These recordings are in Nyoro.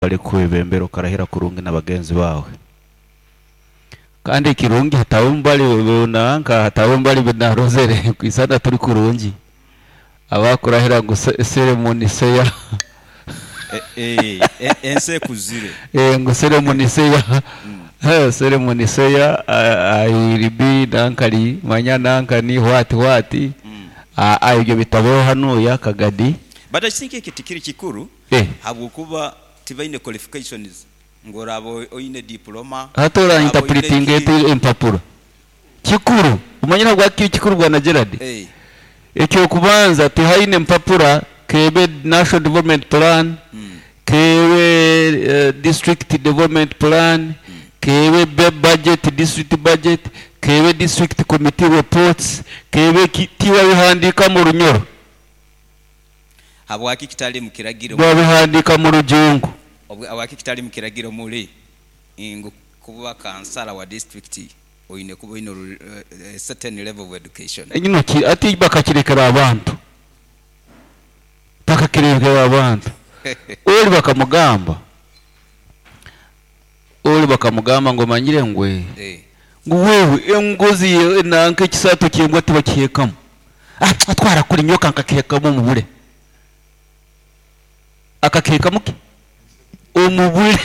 Bali kwebembera okarahira kurungi na bagenzi bawe. Kandi ekirungi hatabe mbali nanka, hatabe mbali binarozere kwisana turi kurungi abakurahira ngu ceremony seya. Ensi ekuzire. Ngu ceremony seya, ceremony seya ayiribi nankali manya nankani what what. Ebyo bitabeho hanuya Kagadi. But I think ekyo tikiri kikuru habwokuba tibaine qualifications ngu oraaba oine diploma, Hati ora oraaba oine interpretinga ki. ota empapura? Kikuru. Omanyire ahabwaki kiri kikuru bwana Gerald? Eky'okubanza tihaine mpapura k'ebe National Development Plan, k'ebe District Development Plan, k'ebe budget, district budget, k'ebe district committee reports, k'ebe ki, tibabihandiika mu Runyoro. Habwaki kitali mu kiragiro? Babihandiika mu Rujungu. Habwaki kitali mu kiragiro muli ngu kuba kansala wa disitulikiti oine kuba oine a certain level of education? Ino ki ati bakakirekera abantu. Bakakirekera abantu. Oli bakamugamba, oli bakamugamba ngu omanyire ngu ngu wewe engozi nanka ekisaato ky'embwa tibakihekamu. Atwara kuri nyoka nkakihekamu omubure. Akakihekamu ki? Omubure.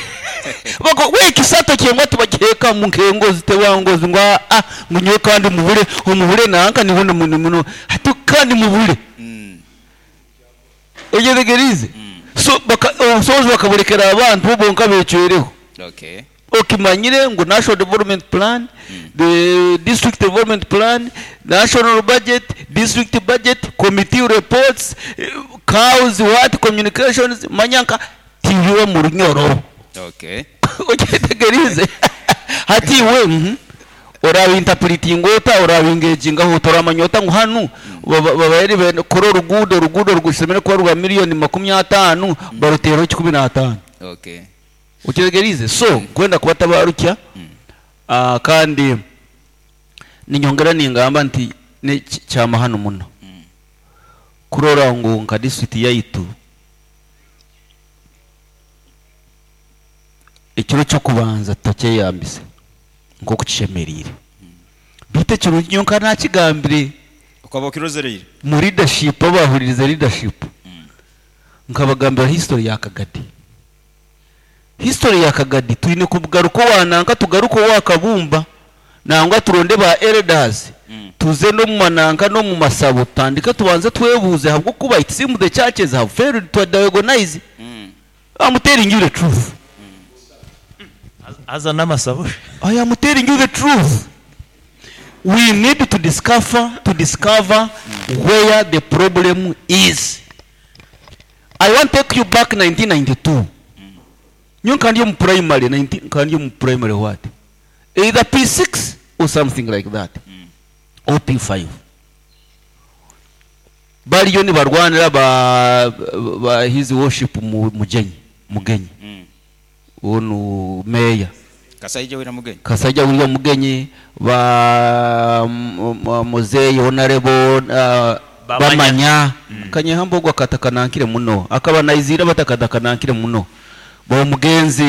Bako we ekisaato ky'embwa tibakihekamu nk'engozi teba ngozi ngu aa ngu nyowe kandi mubure, omubure nanka niho muno hati kandi mubure. Oyetegeriize? So baka obusobozi bakaburekera abantu bo bonka becwereho. Okimanyire ngu National Development Plan, the District Development Plan, National Budget, District Budget, Committee Reports, Cows, what, Communications, manya nka tibiba mu Runyoro. Okyetegeriize? Hati iwe orabinterpretinga ota, orabingegingaho ota, oramanya ota ngu hanu babaire nibenda kukora oruguudo, oruguudo rugushemereire kuba rwa milioni makumi ataano, baruteereho kikumi n'ataano. Okyetegeriize? So, nkwenda kubatabarukya kandi ninyongera ningamba nti kyamahano muno kurora ngu nka disiturikiti yaitu ekiro ky'okubanza tutakyeyambise nk'oku kishemereire. Beitu ekirungi nyowe nka nakigambire. Okaba okirozereire? Mu leadership abahuririze leadership nkabagambira history ya Kagadi. History ya Kagadi twine kugaruka owa nanka tugaruke owa Kabumba nangwa turonde ba elders tuze n'omu mananka n'omu masabo tutandike tubanze twebuuze ahabw'okuba it seems the churches have failed to diagonise. I'm telling you the truth. Haza n'amasabo shi. I am telling you the truth. We need to discover, to discover where the problem is. I want to take you back 1992. Nyo kandi omu primary, 19, kandi omu primary what? Either P6 or something like that. Or P5. Bariyo nibarwanira ba his worship Mugenyi, Mugenyi. Onu mayor. Kasaija William Mugenyi. Kasaija William Mugenyi ba Muzeyi Honorable Bamanya. Bamanya. Kanyehambo ogwo akatakanankire muno. Akaba naizira batakatanankire muno. Ba omugenzi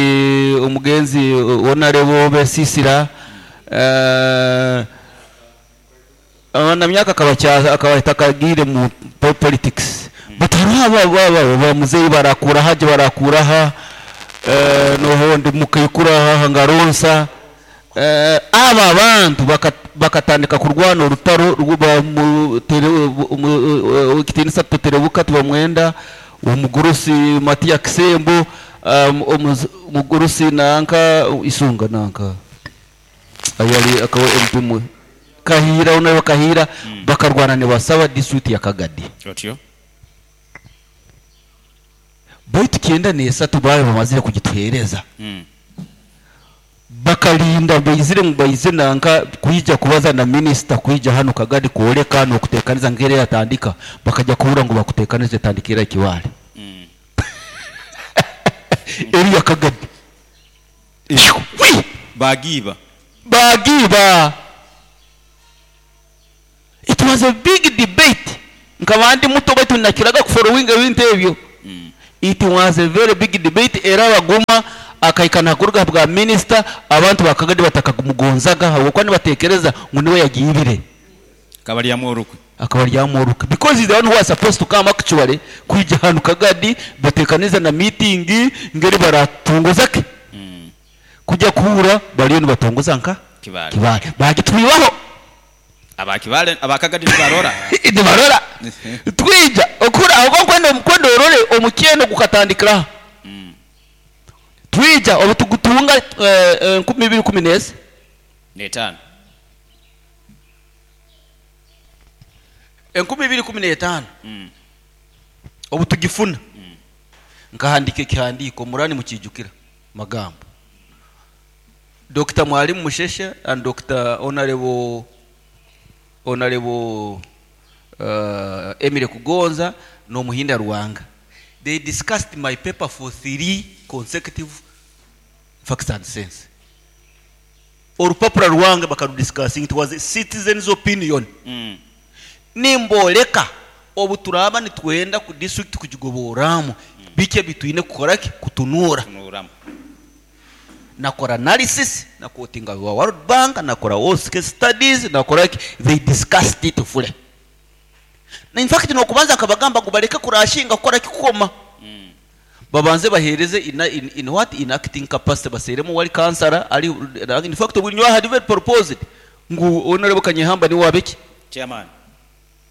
Honorable Besisira, na myaka akaba takagire mu politics. But hariho aba ba muzeyi barakura haje barakura ha, nohondi mukaikura ha ngaronsa. Aba bantu bakatandika kurwana orutaro rwa mu tere, mu, kitinisa tuterebuka tubamwenda omugurusi Matia Kisembo, omugurusi nanka isunga nanka ayali akaba MP mu Kahira, onayo Kahira, bakarwana ne basaba district ya Kagadi. Otyo. Baitu kyenda n'esatu bayo bamazire kugituhereza. Bakalinda baizire ngu baize nanka kwija kubaza na minister kwija hano Kagadi kwoleka n'okuteekaniza ngere yatandika, bakajya kuhura ngu bakuteekanize tandikira ekiwale. Eri ya Kagadi. Wi! Bagiba. Bagiba. It was a big debate. Nkaba ndi muto baitu nakiraga kufollowing ebintu ebyo. It was a very big debate, era baguma akaikana kuruga bwa minister, abantu bakagadi batakamugonzaga habwokuba nibatekereza ngu niwe yagiibire. Kabalyamu orukwe. Akabalyamu orukwe because he's the one who was supposed to come actually kwija hanu Kagadi batekaniza na meeting ngeri baratongozake. Kujya kuhura baliyo nibatongoza nka Kibale. Kibale bagitwibaho. Abakibale abakagadi nibarora. Nibarora. Twija okura aho kwenda omukwendo orore omukyeno gukatandikira. Twija obutugutunga 2014. Netano. 2015. Obutugifuna. Nkahandika ekihandiko murani mukijukira magambo. Dr. Mwalimu Musheshe and Dr. Honorable Emile Kugonza no Muhinda Ruwanga. They discussed my paper for 3 consecutive facts and sense. Orupapuro Ruwanga bakadiscussing, it was a citizen's opinion. Nimboleka obuturaba nitwenda ku district kugigoboramu bike bitwine kukora ki kutunura. Kutunuramu. Nakora analysis, nakotinga wa World Bank, nakora OSCE studies, nakora ki, they discussed it fully. Na in fact nokubanza akabagamba ngo bareke kurashinga kukora kikoma. Babanze bahereze in what in acting capacity baseremo wali kansara ali, in fact we had even proposed ngu honorable Kanyehamba ni wabeki chairman,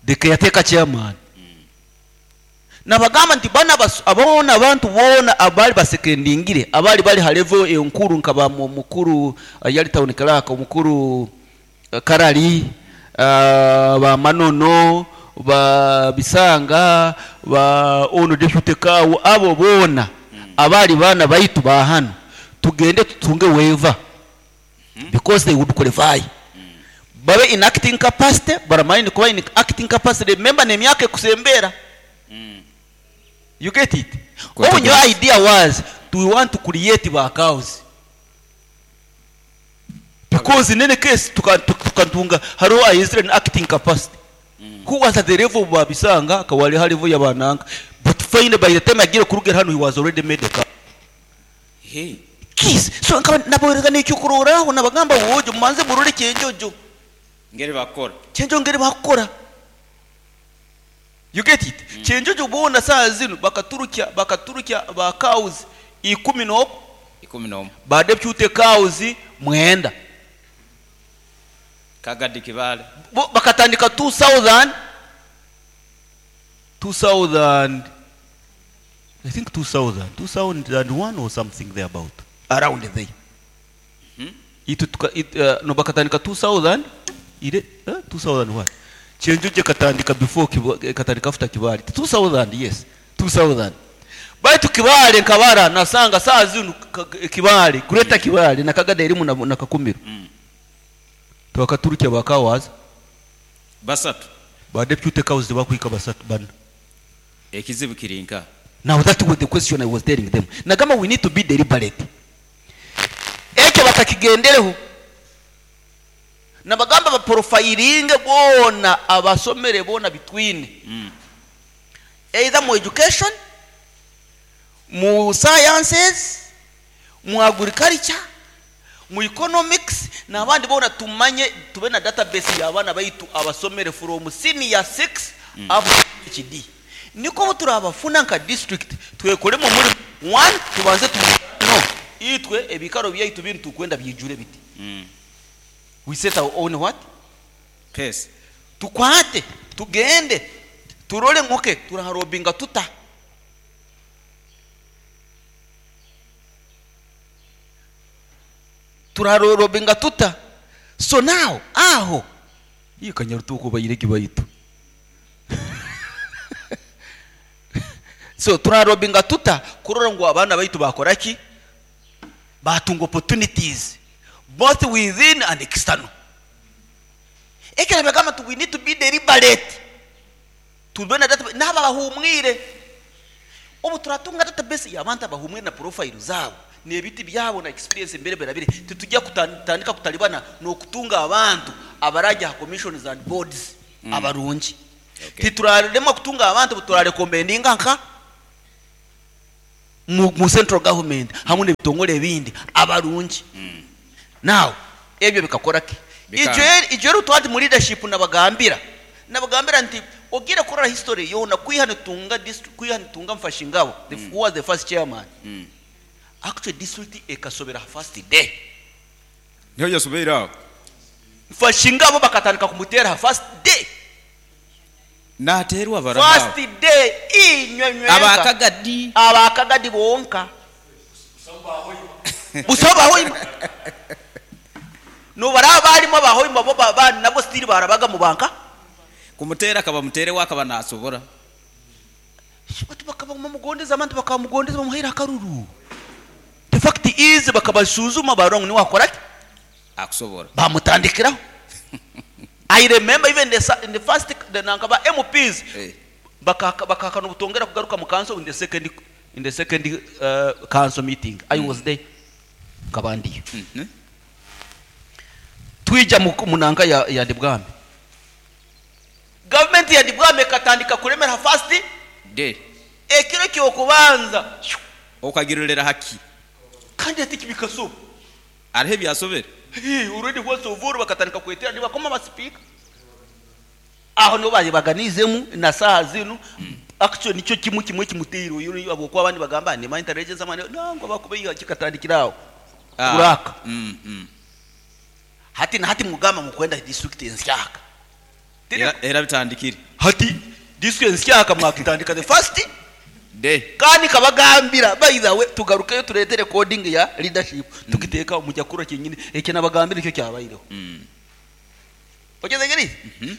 the caretaker chairman. Nabagamba nti bana abona abantu bona abali basekendingire abali bali halevo enkuru nkaba mukuru yali town clerk omukuru Karali, ba Manono, ba Bisanga, ba ono deputy kawo, abo bona abali bana baitu ba hano tugende tutunge waiver because they would qualify. Babe in acting capacity, baramani kuba in acting capacity, remember name yake kusembera. You get it? Quite Oh, your good. idea was we want to create our cows. Because in any case tukatunga haro Israel in acting capacity. Who was at the level of Babisanga kawali halivu ya bananga, but finally by the time agira kurugera hano he was already made a cow. Hey. Kiss. So nkaba naborega n'icyo nabagamba wojo manze murore cyenjojo. Ngere bakora. Cyenjo ngere bakora. You get it? Cyenjojo bona saa zino bakaturukia ba cows 11. 11. Ba deputy cows 9. Kagadi Kibale. Bakatandika 2000, 2000, I think 2000, 2001 or something there about. Around there. No bakatandika 2000, ile, 2000 what? Chenjuje katandika before katandika after Kibale. 2000, yes. 2000. Baitu Kibale nkabara nasanga saa zino Kibale, Greater Kibale na Kagadi elimu na Kakumiro. Twakaturukia bakawaza. Basatu. Ba deputy cows bakwika basatu bana. Ekizibu kirinka. Now that was the question I was telling them. Nagamba we need to be deliberate. Ekyo batakigendereho. Nabagamba ba profiling bona abasomere bona between. Either mu education, mu sciences, mu agriculture, mu economics, n'abandi bona tumanye tube na database y'abana baitu abasomere from senior 6 up to PhD. Niko turabafuna nka district twekolemo muri 1 tubanze tu no itwe ebikaro byaitu bintu kwenda byijure biti. We set our own what? Pace. Tukwate, tugende, turole ngoke, turaharobinga tuta. Turaharobinga tuta. So now, aho. Iyo kanyarutuko bayireki bayitu. So turarobinga tuta kurora ngo abana bayitu bakora ki? Batunga opportunities both within and external. Ekera bagamba tu we need to be deliberate. Tubona data naba bahumwire. Obu turatunga database y'abantu bahumwire na profile zabo. Ni ebiti byabo na experience mbere berabire. Titujya kutandika kutalibana no kutunga abantu abaraja commissions and boards abarungi. Okay. Titurarema kutunga abantu turarecommendinga nka Mu central government hamwe n'ebitongole ebindi abarungi. Now ebyo bikakora ki? Ijo twati mu leadership nabagambira nti ogire kurora history yona kwiha nitunga district, kwiha nitunga Mfashingabo, who was the first chairman. Actually district ekasobera first day. Niho yasobeire aho. Mfashingabo bakatandika kumutera first day. Naterwa baranaho. First day inywe Abakagadi. Abakagadi bonka. Busaba hoima. No baraba barimo abahoima bo nabo still barabaga mu banka. Kumutera akaba mutere wakaba nasobora. Batu bakaba mumugondeza, abantu bakamugondeza bamuhaira akaruru. The fact is bakabasuzuma barong ni wakora ki? Akusobora. Bamutandikiraho. I remember even in the first the nankaba MPs bakaka nobutongera kugaruka mu council in the second council meeting. I was there. Kabandiyo. Twija munanka ya Ndibwami. Government ya Ndibwami katandika kuremera first day. Ekiro kyo kubanza okagirolera haki. Kandi ati kibikaso. Arihe byasobera. Hey, already was ovuru bakatandika kwetera nibakoma ba speaker. Aho no baje baganizemu na saha zinu. Actually nicyo kimwe kimwe kimutiro uyu abo kwa abandi bagamba ni intelligence amane nango bakube kikatandikiraho. Kuraka. Hati na hati mugamba mukwenda district nsyaka. Era bitandikire. Hati district nsyaka mwakitandika the first day. Kandi kabagambira by the way tugarukeyo turete recording ya leadership. Tukiteka mujya kura kinyine eke nabagambira icyo cyabayireho. Ogeze ngeri?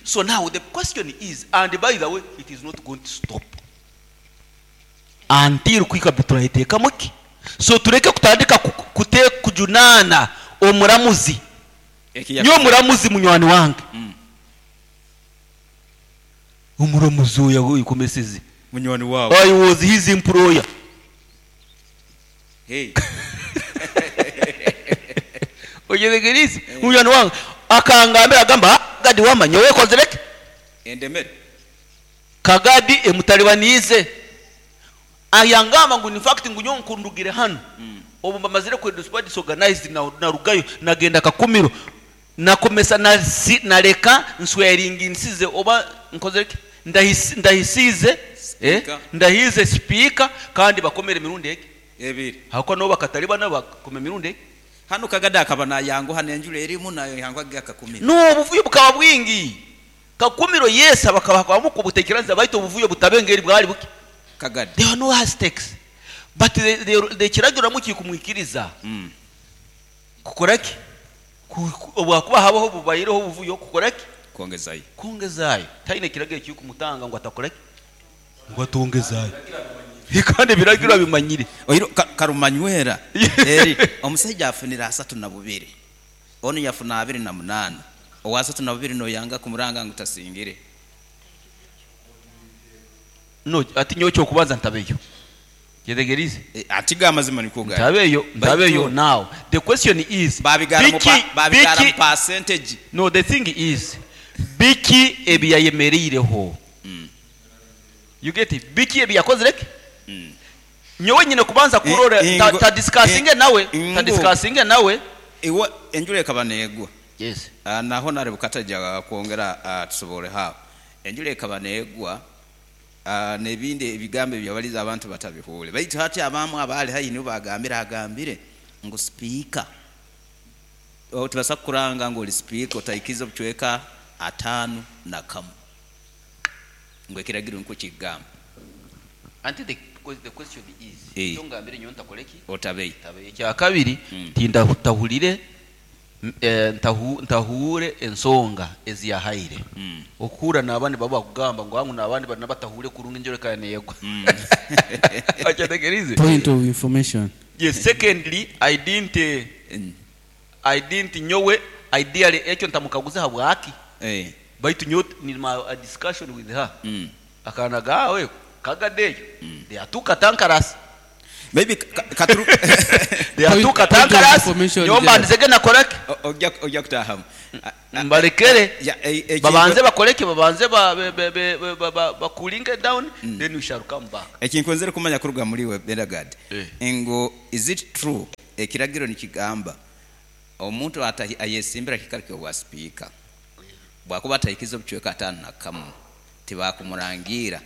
So now the question is, and by the way it is not going to stop until kwikabitura iteka muki. So tureke kutandika kute kujunana omuramuzi. Nyo muramuzi munywani wange. Umuramuzi oyo yikomeseze. Munywani wawe. I was his employer. Hey. Oyeregerisi munywani wange akangambira agamba gadi wamanya we kozereke. Endemere. Kagadi emutalibanize. Ayangamba ngu in fact ngu nyo nkundugire hano. Obu mbamazire kwe disorganized na rugayo nagenda kakumiro. Nakomesa naleka nsweringi nsize oba nkozereke. Ndahisize ndahize speaker kandi bakomere mirundi eke ebiri hako no bakatalibana bakome mirundi eke. Hano kagada akaba nayango hano enjura erimu nayo yangwa gakakumiro. No obuvuyo bukaba bwingi kakumiro yesa bakaba mukubutekeranza baito obuvuyo butabengeri bwali buki kagada. There are no hashtags but the kiragiro muki kumwikiriza kukoraki obwakuba habaho bubayireho obuvuyo kukoraki kongezayo kongezayo taine kiragiro cyo kumutanga ngo atakoraki ngo atongezayo kandi biragira bimanyire oiro karumanywera eri omusajja afunira 32 ono yafuna 28 owa 32 no yanga kumuranga ngo tasingire no ati nyocho kubanza ntabeyo yedegerize atiga amazima nikuga ntabeyo now the question is babigara mu percentage. No, the thing is biki ebiyayemereireho. You get it? Biki ebiyakozereke. Nyowe nyine kubanza kurora ta discussinge nawe ta discussinge nawe iwe enjure kabanegwa. Yes. Naho nare bukataja kwongera tusobole hawo enjure kabanegwa nebindi ebigambo byabaliza abantu batabihule baitu hati abamu abali hayi nibo bagambira agambire ngo speaker tubasa kuranga ngo speaker otaikiza buchweka 5 na kamu ngo kiragiro nko kigamba. Anti the question is cyo ngambire nyo ntakoleki otabei tabei cya kabiri tinda tahulire ntahure ensonga eziyahaire okura nabandi baba kugamba ngo hangu nabandi banabatahule kurunga injoreka yego. Achategerize point of information. Yes, secondly I didn't nyowe ideally ekyo ntamukaguza habwaki baitu nyo ni my discussion with her. Akana gawe kagadeyo they atuka tankarasi maybe katuru There are two Point of katankaras. information, Nyowe mbandizege nakoraki. Ojja kutahamu. Mbalekere. Ya, Babanze bakoreke, babanze ba cooling it down, then we shall come back. Ekinkwenzere kumanya kuruga muri we Benagad Eh. ngo is it true ekiragiro nikigamba omuntu ayesimbira kikari kyobwa sipiika bwakuba atahikiza obucweka 51 tibakumurangira?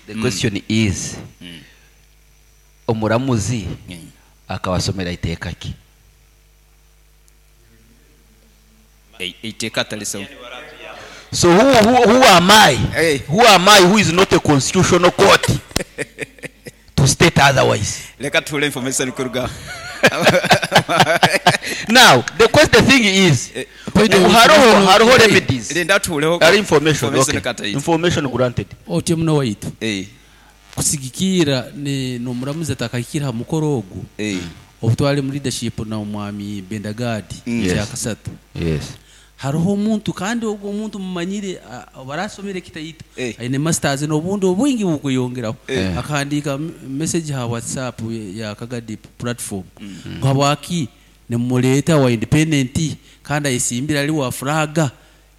The question is, omuramuzi akabasomera iteeka ki? Eiteeka talisoma. So who am I? Hey. Who am I who is not a constitutional court to state otherwise? Leka tuhule information kuruga. Now, the question, the thing is, Point of hariho information. hariho remedies. Linda tuhuleho. Ari information, okay. Kataiti. Information granted. Otyo muno waitu kusigikira ni nomuramuzi atakahikira ha mukoro ogu obutwale mu leadership na omwami Bendagadi kyakasatu. Hariho omuntu, kandi ogwo omuntu mumanyire, barasomere kitaito, aine masters n'obundi obwingi bukweyongeraho, akahandika message ha WhatsApp ya Kagadi platform ngo habwaki nimuleeta wa independent kandi ayesimbira ali wa flaga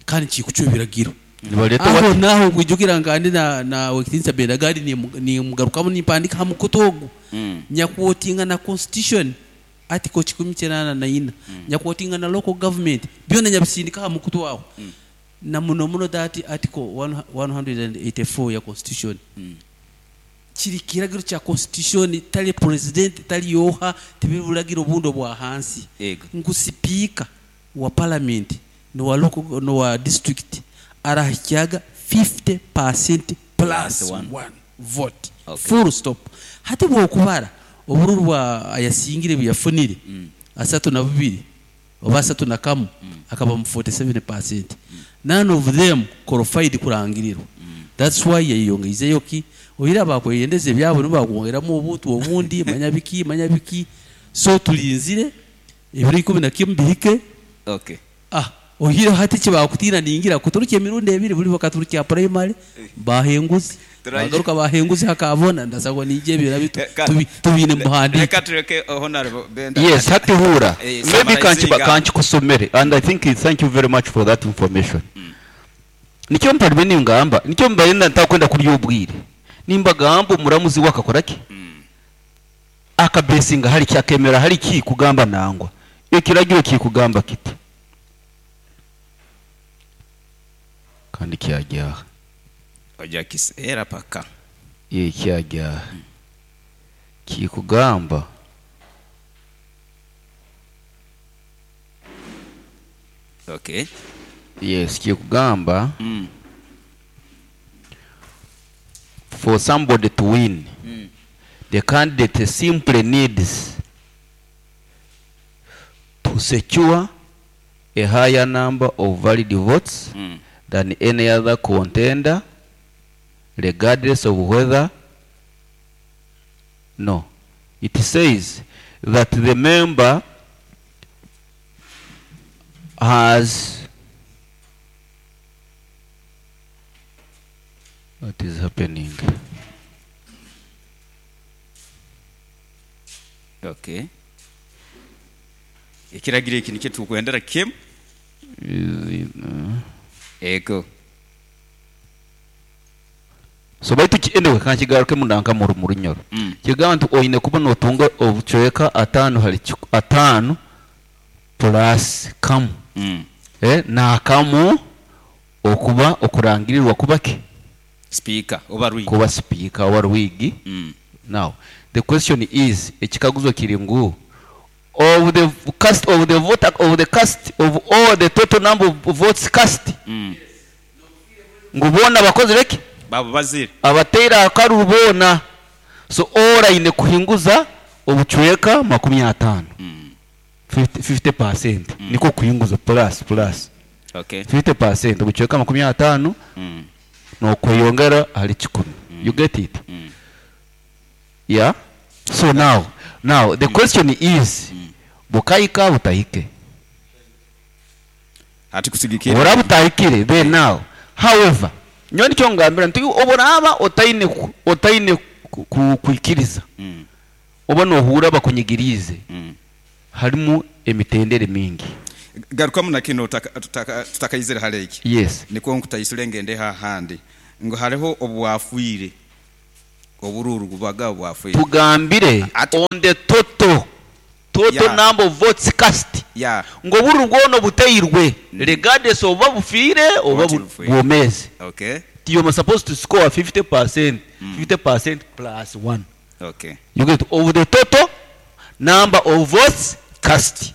kandi kikucwa ebiragiro. Nibaleta aho what? Naho nkwijukira nkandi na wekitinisa Bendagadi nimugarukamu nimpandika ha mukutu ogu nyakuwotinga na constitution article 184, nyakuwotinga na local government byona nyabisindika ha mukutu aho, na muno muno that article 184 ya constitution, kiri kiragiro kya constitution, tali president tali yoha tibibulagiro obundo bwa hansi ngu sipiika wa parliament nowa local nowa district arahikyaga 50% plus one. one vote. Okay. Full stop. Hati bwokubara obururu bwa ayasingire byafunire 32 oba 31, akaba mu 47%, none of them qualified kurangirirwa. That's why yayongeizeyo ki oyira bakweyendeze ebyabo nibakwongeramu obuntu obundi, manya biki, manya biki. So tulinzire ebiro 11 bihike. Ah, ohire hati kibakutina ningira kuturuka emirundi ebiri, buli bakaturukya primary bahenguzi, bagaruka bahenguzi hakabona ndasabwa nije ebira bitu tubine muhandike. Leka tureke Honorable Benda. Yes, hati hura. Maybe summarizinga. Kanchikusomere and I think thank you very much for that information. Nikyo mparime ningamba, nikyo mbaye ntakwenda kurya obwire. Nimbagamba omuramuzi wakakora ki? Akabesinga hari kyakemera hari ki kugamba nangwa. Ekiragiro kikugamba kiti. Kandi kyajyaha. Ojja kiseera paka. Ye kyajyaha. Kikugamba Yes, kikugamba for somebody to win, the candidate simply needs to secure a higher number of valid votes than any other contender, regardless of whether. No, it says that the member has. What is happening? Okay, ekiragiro eki nikyo tukwendera kimu. Is it, Ego. So baitu anyway kankigaruke mundanka mu runyoro. Kigamba nti oine kuba notunga obucweka 5 hari 5 plus kamu. Nakamu okuba okurangirirwa kuba ki? Speaker oba rwigi. Kuba speaker oba rwigi. Now the question is, ekikaguzo kiri ngu of the cast of the voter of the cast of all the total number of votes cast, ngu bona bakoze reki babo bazire abateera akaru bona, so ora ine kuhinguza obucweka 50. 50% niko kuhinguza plus plus. 50% obucweka 50 no kweyongera hali 10. You get it? Yeah. So now the question is, bukayika butahike? Ati kusigikira. Ora butahikire then now. However, nyo nicyo ngambira nti oboraba otaine kuikiriza. Oba nohura bakunyigiriize, harimu emitendera mingi. Garukamu na kinu tutakaizire hali eki. Yes. Nikwo nkutaisule ngendeho ahandi ngu hariho obwafiire, oburuuru bubaga bwafiire. Tugambire Ati on the total, total Yeah. number of votes cast Yeah. ngu oburuuru bwona obuteirwe regardless oba bufiire oba Oba tibufiire. bwomeezi. Okay. You are supposed to score 50%, 50% plus 1. Okay. You get of the total number of votes cast.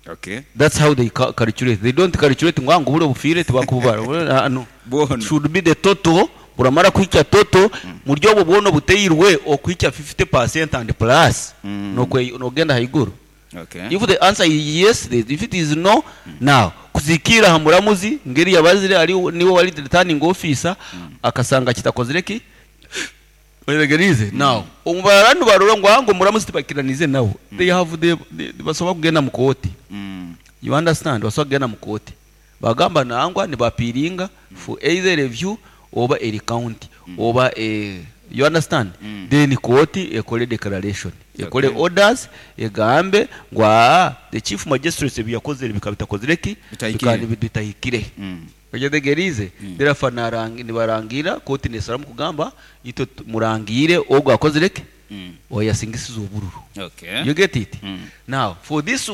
Okay. That's how they calculate. They don't calculate ngu buri obufiire tibakububara. No. Bwona. Should be the total. Buramara kuhikya total muri obwo bwona obuteirwe okuhikya 50% and plus. Nogenda haiguru. Okay. If the answer is yes, if it is no, now kuzikira aha muramuzi ngeri yabazire ari niwe wari returning officer akasanga kitakozire ki oyetegerize. Now omubaranu barora ngu ango muramuzi tibakiranize nawe. They have the basobola kugenda mu kooti. You understand? Basobola kugenda mu kooti. Bagamba nangwa nibapiringa for either review oba a recount oba a, you understand? Then kooti ekore declaration, ekore orders, egambe ngu the chief magistrate ebi yakozere bikaba bitakozire ki? Bitahikire. Bikaba bitahikire. Oyetegerize? Therefore nibarangira kooti nesaramu kugamba itwe murangire ogwo akozire ki? Oyasingisiza obururu. Okay. You get it? Now for this,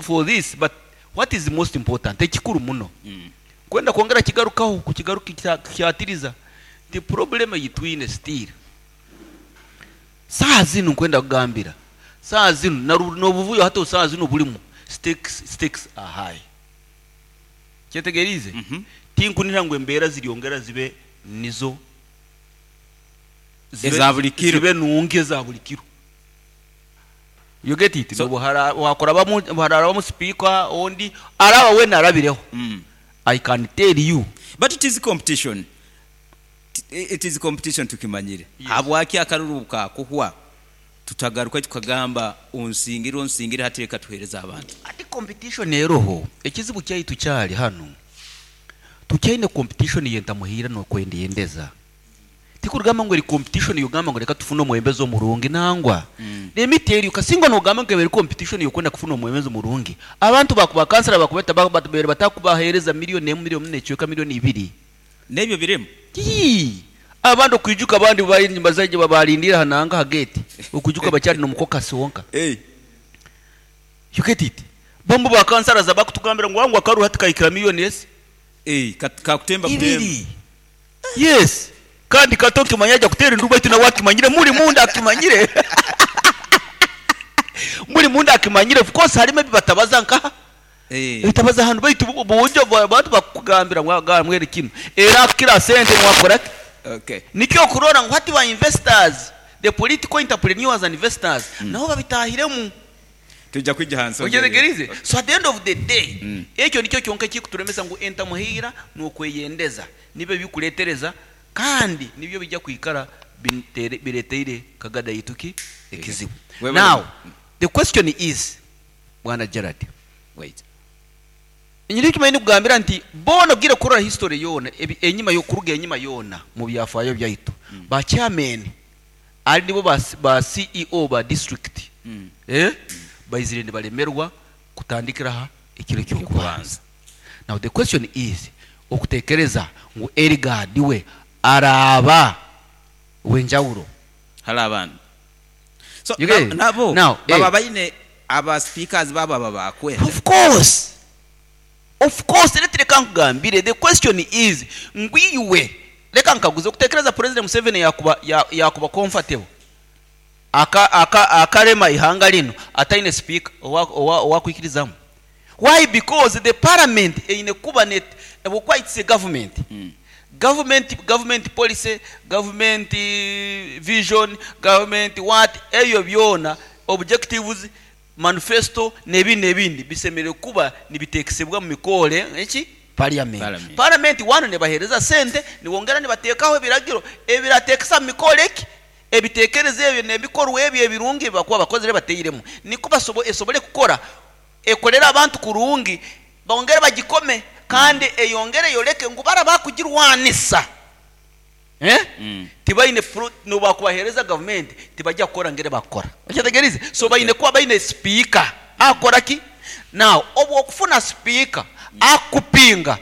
but what is the most important? Ekikuru muno. Kwenda kwongera kigarukaho, kukigaruka kyatiriza. The problem yitwine still. Saa zinu nkwenda kugambira. Saa zinu n'obuvuyo hata saa zinu bulimu stakes are high. Kyetegerize? Tinkunira ngu embeera ziryongera zibe nizo Eza buli kiro. zibe nungi eza buli kiro. You get it? So Nobu wakora bamu speaker ondi araba we narabireho. I can tell you. But it is competition. It is competition tukimanyire. Yes. Habwaki akaruru kakuhwa tutagaruka tukagamba unsingire unsingire hateka tuhereza abantu. Ati competition eroho ekizibu kyaitu kyali hano. Tukyaine competition yentamuhira no kwendiyendeza. Tikurugamba ngo eri competition yogamba ngo reka tufune omwebembezi omurungi nangwa. Let me tell you, kasinga nogamba ngo eri competition yokwenda kufuna omwebembezi omurungi. Abantu bakuba kansala bakubeta batubere batakubahereza miliyoni emwe, miliyoni n'ekyoka, miliyoni ibiri. Nebyo biremu. Yii. Abantu kwijuka abandi bari bazaje babalindira hananga hageti. Okujuka bacyari no mukoka sonka. Hey. You get it? Bombo ba kansala za bakutugambira ngo wangu akaru hatikaikira miliyoni esi. Hey, kakutemba kutemba. Ibiri. Yes. Kandi kato kimanyaja kutera nduba itu na wakimanyire muri munda akimanyire. Muri munda akimanyire, of course harimo bibatabaza nka. Bitabaza hano baitu bujo abantu bakugambira ngo mwere kino. Era kila sente mwakora. Okay. Nikyo kurora ngo hati ba investors, the political entrepreneurs and investors, nabo babitahiremu. Tujja kwijja hansi. Ojetegerize? So at the end of the day, ekyo nikyo kyonka kikuturemesa ngu entamuhira n'okweyendeza nibyo bikuletereza kandi nibyo bijja kwikara bireteire kagada yituki ekizibu. Now the question is, Bwana Gerard, Wait. Nyiri kimanyi kugambira nti bona bwire kurora history yona enyima yo kuruga enyima yona mu byafayo byaitu. Ba chairman ari nibo ba CEO ba district. Baizire ne balemerwa kutandikira ha ekiro cyo kubanza. Now the question is, okutekereza ngu Elgard we araba wenjawulo hala abantu. So You get it? nabo Now, baba baine aba speakers baba babakwe. Of course. Of course, reka nkugambire, the question is ngwiwe reka nkaguze okutekereza President Museveni yakuba comfortable akarema ihanga lino ataine speaker owa kwikirizamu. Why? Because the parliament eine kuba net bukwa it's a government. Government policy, government vision, government what eyo byona objectives, manifesto n'ebindi bisemere kuba nibitekesebwa mu mikole eki parliament. Parliament. Parliament wano ne bahereza sente niwongera nibatekaho ebiragiro ebiratekesa mu mikole eki ebitekerezo ebyo n'ebikorwa ebyo ebirungi bakuba bakozere bateiremu niko esobole kukora ekolera abantu kurungi bongere bagikome kandi eyongere yoleke ngu bara bakugirwanisa. Eh? Tibaine nobakubahereza gavumenti tibajja kukora ngere bakukora. Okyetegerize? So baine kuba baine speaker akora ki? Now obu okufuna speaker akupinga,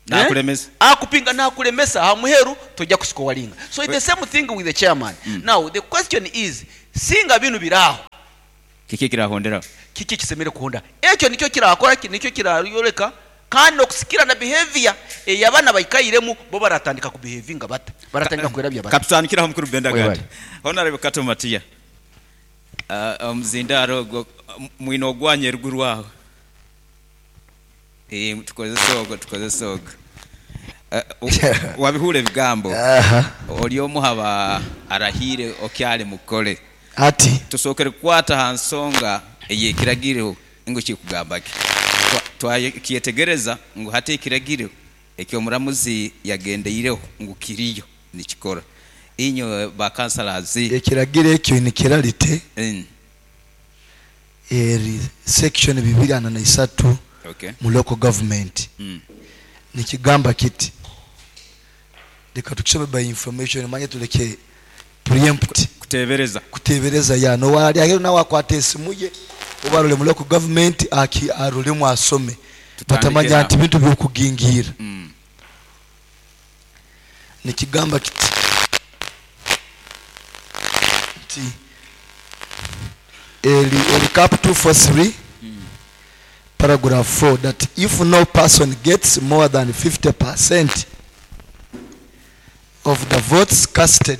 Nakulemesa. Akupinga nakulemesa, ha muheru tojja kusikowalinga. So it's the same thing with the chairman. Now the question is, singa binu biraho, kiki kirahonderaho? Kiki kisemere kuhonda? Ekyo nikyo kirakora ki, nikyo kirayoleka kandi okusikira na behavior ey'abaana baikairemu, bo baratandika kubehavinga bata, baratandika kwerabya bata. Katutandikiraho mukuru Bendagati. Webale. Honorable Kato Matiya, omuzindaaro ogwo mwine ogwanya eruguru aho. Tukozese ogwo, tukozese ogwo. Wabihuura ebigambo, ori omu haba arahiire okyali mukole. Ati. Tusookere kukwata ha nsonga ey'ekiragiro ngu kikugamba ki. Twakyetegereza ngu hati ekiragiro eky'omuramuzi yagendeireho ngu kiriyo nikikora. Inywe ba councillors. Ekiragiro ekyo nikiralite eri section 243 mu local government. Nikigamba kiti, leka tukisome by information, manye tuleke preempt. Kutebereza. Kutebereza ya nowali aheru nawe akwata esimu ye oba arole mu local government aki arolemu asome. Tutandike batamanya nawe. Nti bintu byokugingira. Nikigamba kiti nti eri cap 243 paragraph 4 that if no person gets more than 50% of the votes casted,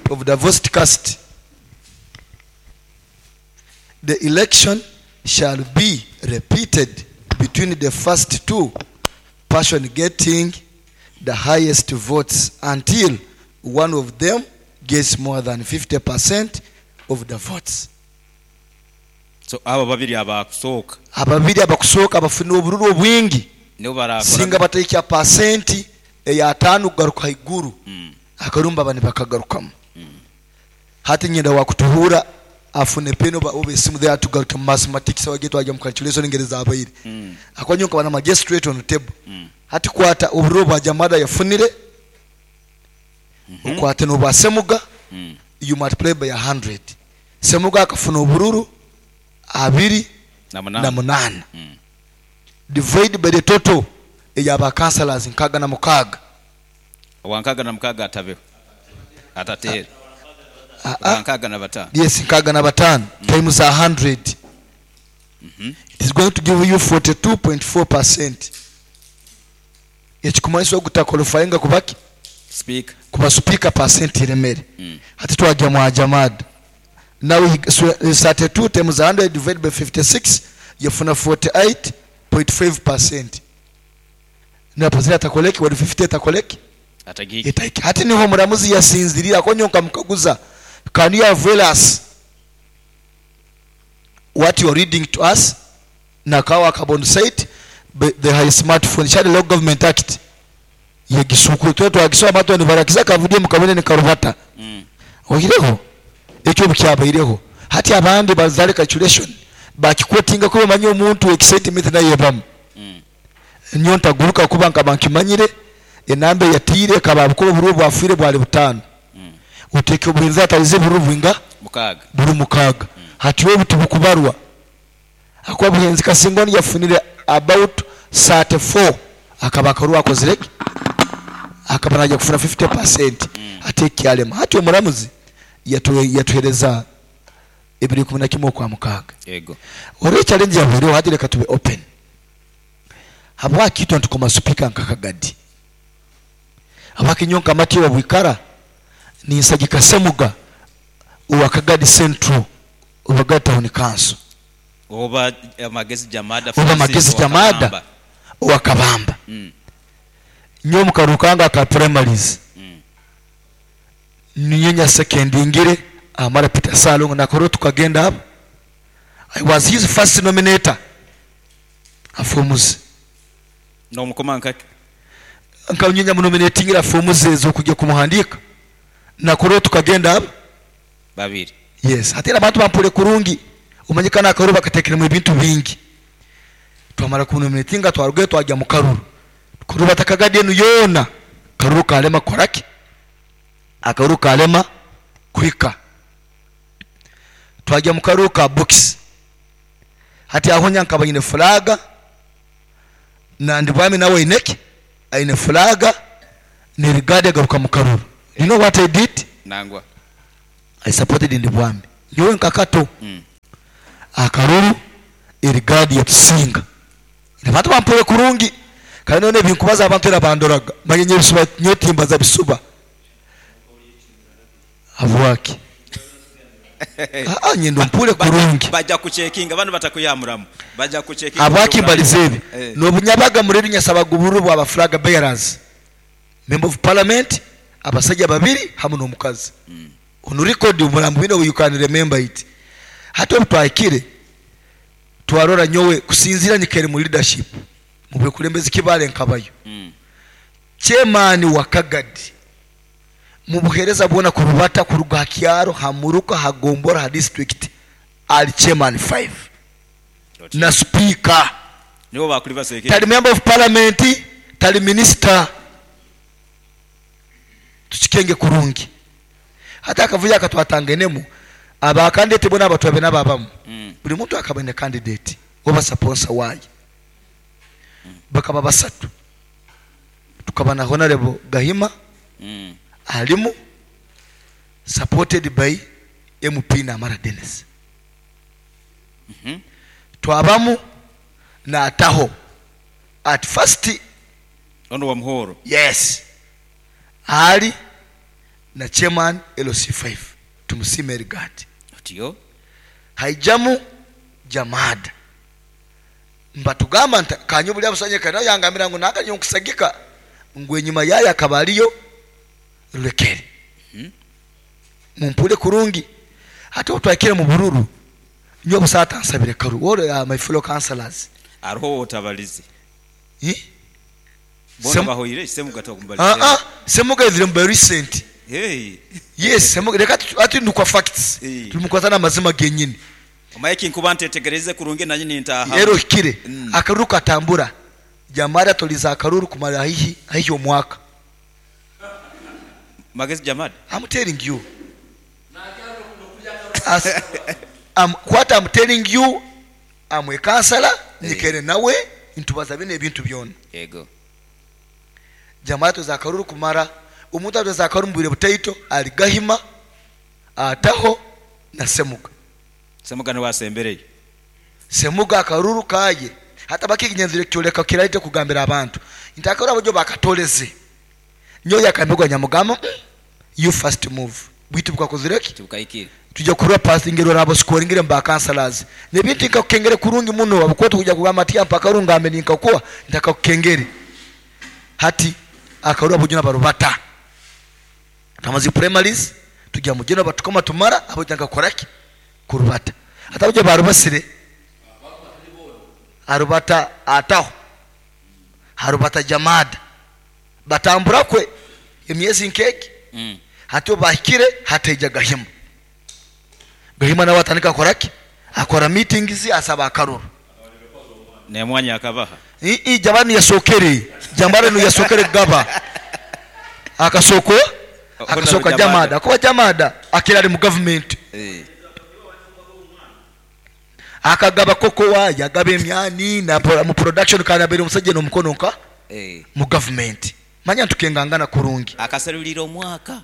of the votes cast, the election shall be repeated between the first two person getting the highest votes until one of them gets more than 50% of the votes. So abo babiri abakusooka, ababiri abakusooka abafuna obururu obwingi, nibo barakora singa bataikya pasenti ey'ataano kugaruka haiguru, akarumba bani bakagarukamu. Hati nyenda wakutuhura afune peni oba esimu there tugaruke mu mathematics wage twajya mu calculation engeri zabaire. Akonyo nkaba na mage straight on the table. Hati kwata obururu bwa Jamada yafunire, okwate n'obwa Semuga, you multiply by 100. Semuga akafuna obururu abiri na munana. Na munana. Divide by the total ey'aba councillors 66. Wankaga na mukaga atabeho atateera. 65. Yes, 65 times 100. It is going to give you 42.4%. Ekikumanyisa ogutakwalifyinga kubaki? Speaker. Kuba speaker percent iremere. Hati twajya mu Jamada. Now he, so, 32 times 100 divided by 56 yafuna 48.5%. Na pasira atakoleki wali 50 atakoleki? Atagiki. Etaiki. Hati niho muramuzi yasinzirira akonyonka mukaguza. Can you avail us what you are reading to us? Nakawa carbon site the high smartphone shall local government act yegisuku twe twagisoma bato ni barakiza kavudie mukabone ni karubata. Oyireho ekyo bukyabaireho hati abandi bazale calculation bakikwotinga ko bamanye omuntu excitement naye bamu. Nyonta guruka kuba nkaba nkimanyire enambe yatire kaba bukuru buru bwafire bwali butano. Uteke obuhinza atalize buru bwinga mukaga buru mukaga. Hati we butubukubarwa akwa buhenzi kasingoni yafunire about 34 akaba karuwa akozireke akaba naja kufuna 50%. Ate kyalema hati omuramuzi yatuhereza ebiri kumi na kimwe kwa mukaga. Yego. Ore challenge ya buri hati reka tube open. Habwa kitu ntukoma speaker nkakagadi. Abakinyonka mati wa bwikara ni nsagika Semuga uwa Kagadi Central uwa Town Council. Oba Magezi Jamada Oba Francis Magezi wa Jamada Kabamba. uwa Kabamba. Nyo mukarukanga ka primaries. Ninyenya second ingire amara Peter Salongo na koro tukagenda hapo. I was his first nominator. Afumuze. No mukoma nkake. Nkanyenya munominatingira afumuze zo kujya kumuhandika. Na koro tukagenda hapo. Babiri. Yes, hatera abantu bampure kurungi. Umanyikana akaro bakatekera mu bintu bingi. Twamara kunominatinga twaruge twajya mu karuru. Kuruba takagadi enu yona. Karuru kalema koraki. Akaruru kalema kuhika. Twajya mu karuru ka box. Hati aho nyankaba nyine flaga na Ndibwami nawe aineki aine flaga ni rigadi agaruka mu karuru. You know what I did? Nangwa. I supported Ndibwami. Nyowe nkakato. Akaruru irigadi yatusinga. Abantu bampore kurungi. Kandi none binkubaza abantu era bandoraga. Manye nyebisuba nyotimbaza bisuba. Habwaki? Ah, nyendo mpure kurungi. Bajja kuchekinga bano batakuyamuramu. Bajja kuchekinga. Habwaki mbalize ebi? Eh. Nobunyabaga muri nyasabaga uburu bwa flag bearers. Member of parliament abasajja babiri hamu n'omukazi. Ono record omulambo bino you can remember it. Hati obutwakire twarora nyowe kusinzira nyikere mu leadership mu bukulembezi kibale nkabayo. Chairman wa Kagadi mu buhereza bwona kurubata kuruga kyaro hamuruka hagombora ha district ali chairman 5 na speaker. Nibo bakuli baseke. Tali member of parliament, tali minister. Tuchikenge kurungi. Hata akavuya akatwatangenemu aba candidate bona abatwabe nababamu. Buli muntu akabene candidate oba sponsor waye. Bakaba basatu. Tukaba na honorable Gahima. Alimu supported by MP Namara Dennis. Twabamu na Ataho at first ono wa Muhoro. Yes. Ali na chairman LC5 tumusime regard. Tiyo. Haijamu Jamad. Mbatugamba nta kanyo buli abusanye kana yangambira ngo nakanyo nkusagika ngwe nyuma yaya kabaliyo rulekere. Mumpule kurungi. Hata utwakire mu bururu nyo busata nsabire karu. All my fellow councillors. Aroho otabalize. Eh? Bona bahoire Semuga tokumbalize. Semuga is very recent. Hey. Yes, Semuga reka ati ndukwa facts. Hey. Tumukwatana amazima genyini. Omaye nkuba ntetegereze kurungi nanyi nintaha. Rero kire akaruru katambura. Jamada toliza akaruru kumara hihi omwaka. Magezi Jamada. I'm telling you. As, what I'm telling you, I'm a counselor, nikere nawe ntubaza bine ebintu byona. Yego. Jamada toza akaruru kumara umuntu atoza akaruru mbire butaito ali Gahima ataho na Semuga. Semuga ni wasembereye. Semuga akaruru kaye. Hata baki kinyenzire kyoleka kiraite kugambira abantu. Ntakora abajo bakatoleze. Nyo yakambirwa Nyamugama, you first move. Bwitu bukakozireki? Tukaikire. Tujya kurwa passing ngero rabo scoring ngere mba councillors. Nebintu nkakukengere kurungi muno abukoto kujya kugamba ati mpaka rungambe ninkakuwa ndakakukengere. Hati akarura bujuna barubata. Tamazi primaries tujya mugeno batukoma tumara abo nkakoraki kurubata. Hata bujya barubasire arubata ataho harubata Jamada batambura kwe emyezi nkeki. Hati bahikire hateja Gahima. Gahima nawe atandika koraki akora meetings asaba akaruru ne mwanya akabaha. I jabani yasokere jambare no yasokere gaba akasoko akasoka Jamada akoba Jamada akira ari mu government. Akagaba koko wa yagabe emyani na mu production kana bere umusajja no mukono nka mu government. Manya tukengangana kurungi akasalulira omwaka.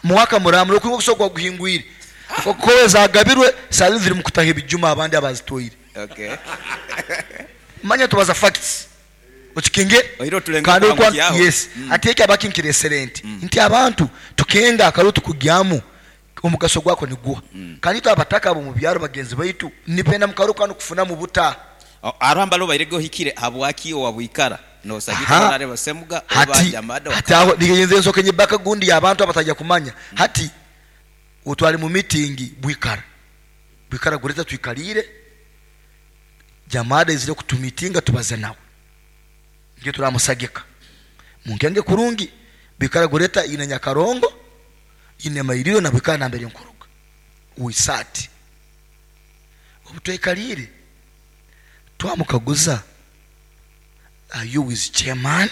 Mwaka muramuro kuko kusokwa guhingwire koko zagabirwe sali ziri mukutaha ebijuma abandi abazitoyire. Okay. Manya tubaza facts okikinge kandi kwa yes. Ati eki abakinkire excellent nti abantu tukenga akarutu kugyamu omugaso gwako ni guha. Kandi twabataka abo mu byaro bagenzi baitu nipenda mukaruka no kufuna mu buta aramba lo bairego hikire habwaki wabwikara no sagika nareba Semuga oba Jamada hati aho nigenze nsoke nyibaka gundi abantu abatajya kumanya. Hati utwali mu meeting bwikara bwikara gureta twikalire Jamada izire kutumitinga tubaze nawe ngiye turamusagika munkenge kurungi bwikara gureta ine Nyakarongo ine mairiro na bwikara na mbere nkuruga uisati obutwekalire twamukaguza are you with chairman?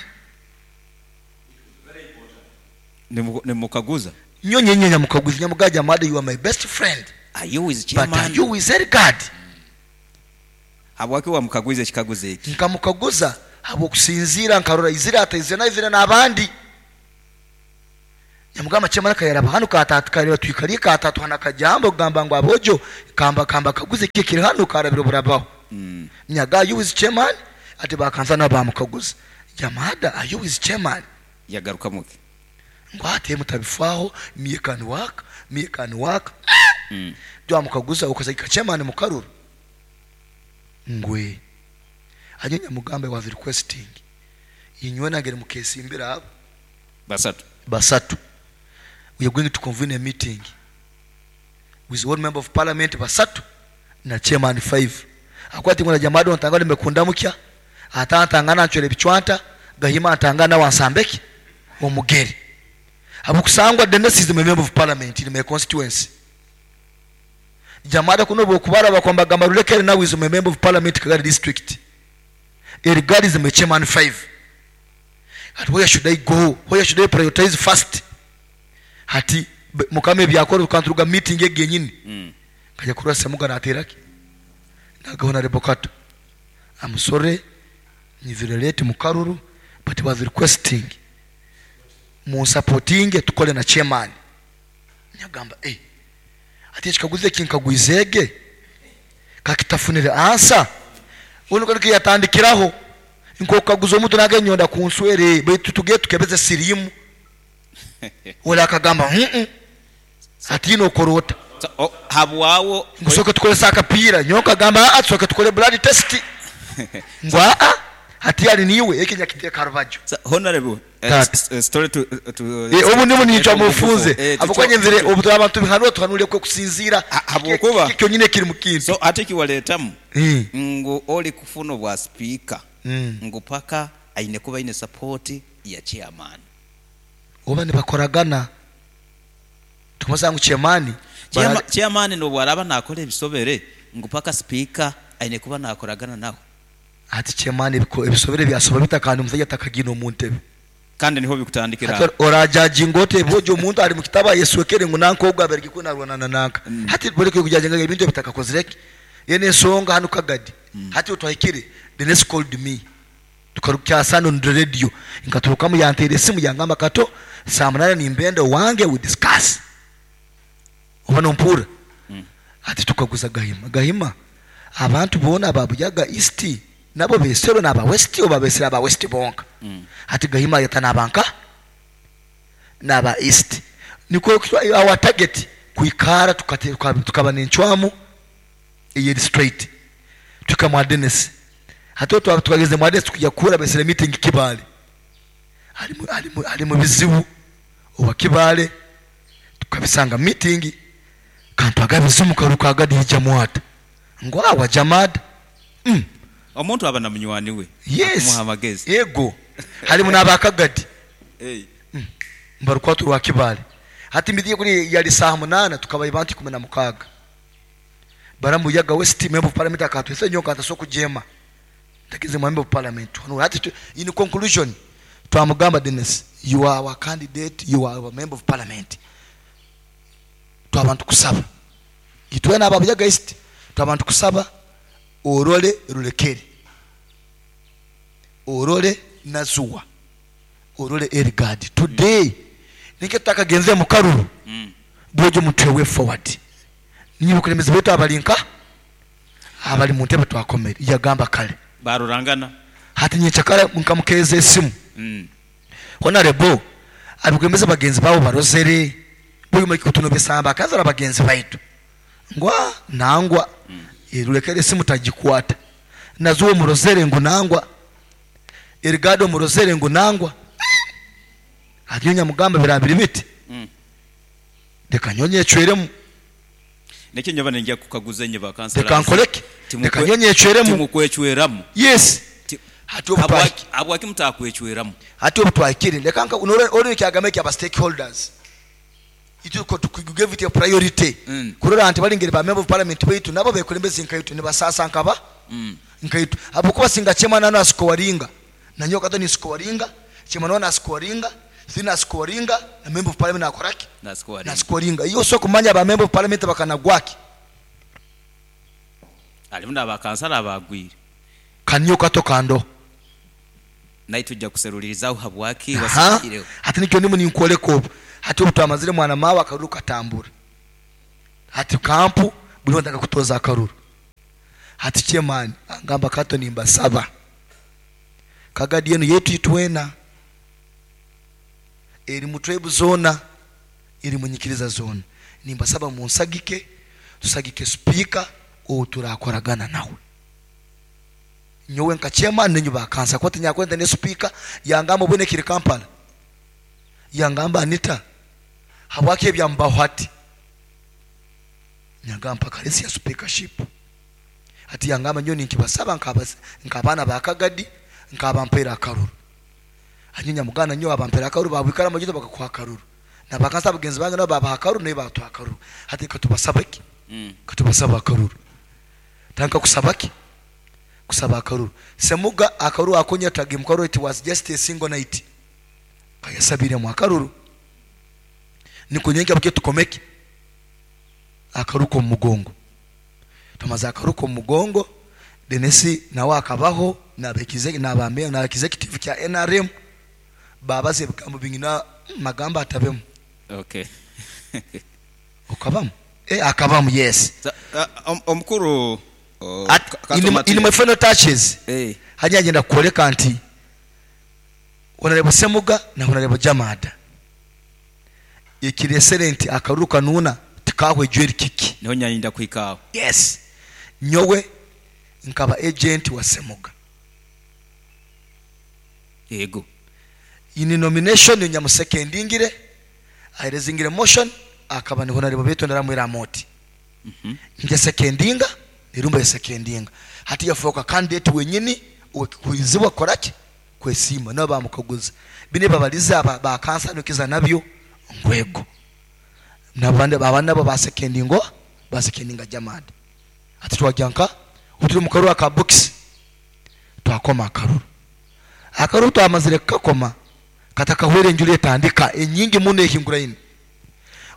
Nimukaguza Nyonye nyenya mukaguzi nyamugaja mada, you are my best friend. Are you with But are chairman? you with Elgad? Habwaki wamukaguiza ekikaguzo eki? Nkamukaguza habwokusinziira nkarora izira ataizira naizira n'abandi. Nyamugamba chairman kayaraba hano katatu kareba twikariye katatu hana kajambo kugamba ngu abojo kamba kamba kaguze kiki kiri hano karabiro burabaho. Nyaga, you with chairman? Ati bakanza nabo bamukaguza, jamada, are you with chairman? Yagarukamuke? Ngo ate mutabifaho, me can work, me can work. Byamukaguza ukasagika chairman mukaruru ngwe anyo nyamugambe was requesting inywe nagere mukesimbira abo Basatu. Basatu. We are going to convene a meeting with one member of parliament basatu na chairman 5. Akwati ngona jamado ntanga nimekunda mukya atantangana ncwere bicwanta gahima antangana wansambeki omugere abukusangwa. Dennis is the member of parliament in my constituency. Jamada kuno bokubara bakwamba gamba rulekere now is a member of parliament Kagadi district. Erigadi is my chairman 5. At where should I go? Where should I prioritize first? Hati mukame byakora tukanturuga meeting yegenyini. Kajya kurasa semuga nateraki nagahona rebokato. I'm sorry, nizirelete mukaruru, but was requesting mu supporting tukole na chairman. Nyagamba ati ekikaguzo eki nkagwizege kakitafunire ansa uno kandi yatandikiraho nkokaguza omuntu nagenyonda kunswere baitu tuge tukebeze sirimu wala akagamba ati ino korota. So, habwawo Ngusoke tukolesa akapiira nyoka agamba, "Ah, tusoke tukole blood test." Ngo aa hati ali niwe eki nyakiteka rubajo. So, honorable Tata. story to Obu nibu nicwa mufunze abukwanye nzire obu abantu bihanura tuhanure kwe kusinzira. Habwokuba- Kyonyine kiri mu kintu. So ate kiwaleetamu ngu oli kufuna obwa sipiika ngu paka aine kuba aine support ya chairman. Oba nibakoragana tukumasanga chairman. Chairman nobwaraba nakola ebisobere ngu paka sipiika aine kuba nakoragana nawe. Ati chairman ebisobere byasoba bitakandi omusajja atakagina omu ntebe. Kandi niho bikutandikira. Hati orajajinga ote bojo omuntu ali mu kitaba yeswekere ngu nanka ogwo abereke kunarwana nanka. Hati boleke kujajinga ebintu ebitakakozireki yene ensonga hano Kagadi. Hati otwahikire, Dennis called me tukarukyasana on the radio nkaturukamu yanteera esimu yangamba kato saa munana nimbenda wange we discuss oba nompura. Ati tukaguza Gahima, Gahima abantu boona ababuyaga East nabo beserwe n'aba West oba besere aba West bonka. Ati Gahima yata n'abanka n'aba East niko our target kuikara tukaba n'encwamu eyeri straight tukamwa Dennis. Hati twageze mwa Dennis tukujya kura besere meeting Kibale ali mu bizibu owa Kibale tukabisanga meeting kantu agabizimu karuka agadija mwata ngo awa jamad. Omuntu aba na munywani we Yes. akumuha amagezi. Yego halimu n'abakagadi. Hey. Mbarukwatu rwa Kibale hati midiye kuri yali saa 8 tukabaye bantu 16 baramuyaga West member of parliament akatwese nyoka ataso kujema ndakize member of parliament no hati in conclusion twamugamba Dennis, you are our candidate, you are our member of parliament. Twabantu kusaba itwe n'ababuyaga East twabantu kusaba orole rulekere orole nazuwa orole Erigadi today ninke tutakagenze mu karuru. Bwojo mutwe way forward niba kulemeza betu abalinka abali mu ntebe twakomere yagamba kale Barurangana. Hati nyekyakala nkamukeza esimu. Honorable abikwemeza bagenzi babo barozere buyuma kutuno besamba akazara bagenzi baitu ngwa nangwa. Erulekere esimu tagikwata nazuwo murozere ngo nangwa Erigado murozere ngo nangwa ati nyamugamba birabiri biti. Reka nyonye ecweremu. Nekyo nyoba nenja kukaguza enye bakansala. Reka nkoleke reka nyonye ecweremu. Timukwecweramu. Yes. Hati obu Habwaki mutakwecweramu? Hati obu twahikire reka nka ori kyagamba eki aba stakeholders ituko tukigave it a priority. Kurora nti balingere ba member of parliament baitu nabo bekulembeze nkaitu nibasasa nkaba nkaitu abukuba singa chairman ano asikowaringa nanyo kato ni sikowaringa chairman ono asikowaringa. Sinasikoringa na member of parliament nakoraki? Nasikoringa. Nasikoringa. Iyo so kumanya ba member of parliament bakanagwaki. Alimu n'abakansala abagwire. Kanyo kato kando. Naye tujja kuserulirizaho habwaki Aha. wasikireho. Hati nikyo ndimu ninkwoleka obu. Hati obu twamazire mwana mawe akaruru katambura. Hati kampu buli wantaka kutoza akaruru. Hati chairman angamba kato nimbasaba. Kagadi yenu yetu itwena. Eri mutwebu zona, eri munyikiriza zona. Nimbasaba munsagike, tusagike speaker owo turakoragana nawe. Nyowe nka chairman nenyu bakansa kwati nyakwenda ne speaker yangamba bwene kiri Kampala. Yangamba Anita habwaki ebyambaho hati. Nyagamba kalesi ya speakership. Ati yangamba nyo ninkibasaba nkabana bakagadi nkabampera akaruru. Anyo nyamugana nyo abampera akaruru babikara amagito bakakuha akaruru. Na bakansa bagenzi bange nabo babaha akaruru naye batuha akaruru. Hati katubasaba iki? Katubasaba akaruru. Tanka kusaba ki? Kusaba akaruru. Semuga akaruru akonya tagi mkaruru, it was just a single night. Kayasabire mu akaruru. Nikunyenge buke tukomeke. Akaruko mu mugongo. Tumaze akaruko mu mugongo, Denisi nawe akabaho na bekize na bambe na executive kya NRM babaze bigambo bingina magamba atabemu. Okay. Okabamu? Akabamu, yes. Omukuru, In my final touches. Hanya agenda kuoleka nti Honorable Semuga na Honorable Jamada. Ikiresere nti akaruru kanuna tikahwe jweri kiki. Niho nyanyinda kwikaho. Yes. Nyowe nkaba agent wa Semuga. Yego. In nomination nyamusekendingire aherezingire motion akaba ni Honorable Beto ndaramwira moti. Nje sekendinga nirumba ya sekendinga. Hati yafoka candidate wenyini kuizibwa koraki kwesima nabo bamukaguza. Bine babaliza aba ba kansa nukiza nabyo ngwego. Nabande babana bo basekendingo basekendinga Jamad. Ati twajyanka uturi mukaru aka box twakoma akaruru. Akaruru twamazire kakoma katakahwere njule tandika enyingi muno ehingura ine.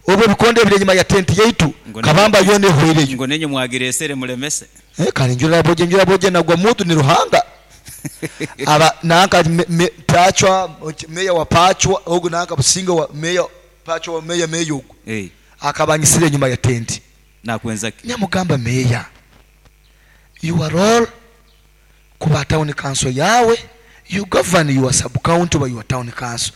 Obwo bikonde bire nyuma ya tent yaitu kabamba yone hwereyo. Ngo nenye mwagiresere mulemese. Kandi njula boje njula boje nagwa mutu ni ruhanga. Aba nanka pachwa meya wa pachwa ogu nanka businga wa meya pachwa wa meya meya ogu. Akabanyisire nyuma ya tent. Nakwenza ki? Nyamugamba meya. You are all kuba town council yawe, you govern your sub county by your town council.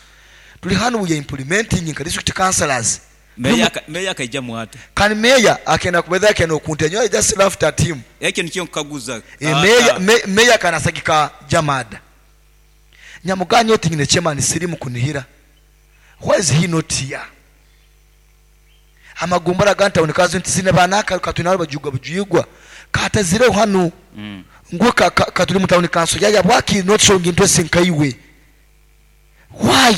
Tuli hano we are implementing in district councillors. Meya akaija mwate. Kan meya akenda kubedha akenda okunte nyo, I just laughed at him. Ekyo nikyo nkaguza. Meya kanasagika Jamada. Nyamuganyo tingine chairman sirimu kunihira. Why is he not here? Amagumbara ganta unikazo ntisine banaka katunaro bajuga bujuyigwa. Kata zire hano. Nguo katuli mu town council yaya bwaki not showing interest nkaiwe. Why?